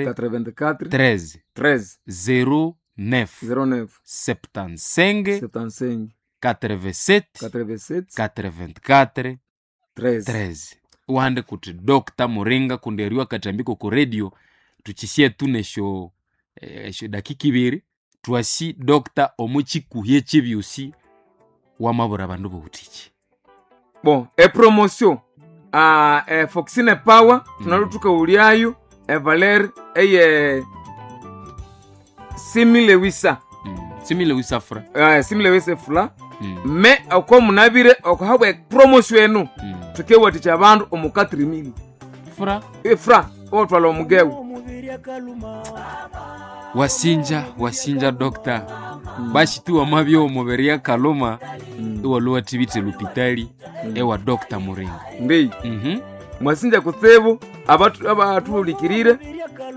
84 13 13 09 09 75 75 87 87 84 13. 13. Uhande kuti Dr Muringa kundi eriwa katambiko ku radio tuchisie tu nesho esho dakika ibiri twasi Dr omuchikuhye chibyusi wamabura bandu boutiki. Bon, epromotion e Foxine Power tunalutuka ulyayo evaler eye simile wisa. Simile wisafra. Simile wisa fula. Me oko munabire okuhabwa epromotion enu tukewatikya abandu omu 4000 Fra efra otwala omugewu. Wasinja wasinja Dr. Basi tu wamabyo omubiri akaluma iwaluwa tibite lupitali ewa Dr Muringa. Mbi mwasinja kutsibu abatuhulikirire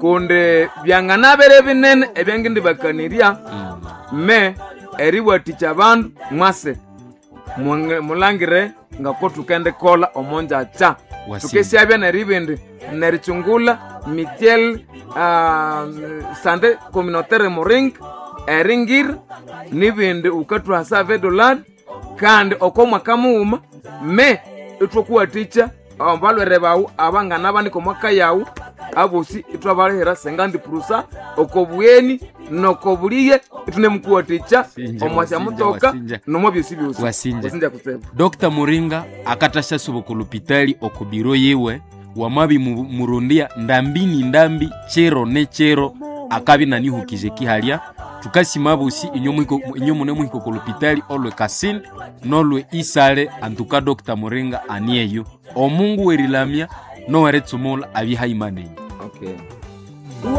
kundi byanganabere binene ebyangindi bakanirya me eriwatikya abandu mwase mulangire ngako tukendikolha omonjakya. Wasinja. Tukesyabya neribindi nerichungula mitiel sante communautaire muring eringir nibindi ukathuhasa vedolari kandi oko mwaka mughuma me ithwakuwathikya abalwere bawu abangana banika omwaka yawu abosi ithwabalihira 50% oko bugheni noko buliye ithunemukuwathikya Wasinja, omwasya wasinja, mutoka wasinja. nomwa byosi byosi. Wasinja. Wasinja kutsibu. Dr Muringa akatasha suba lupitali okubiro yiwe wamabi murundia ndambi ni ndambi chero ne chero akabi nanihukije kihalya tukasima bosi inyo mune muhiko ku lupitali olwe Kasini nolwe Isale antuka Dr Muringa anieyo omungu werilamya noweretsumula abihaimanenyi. Okay.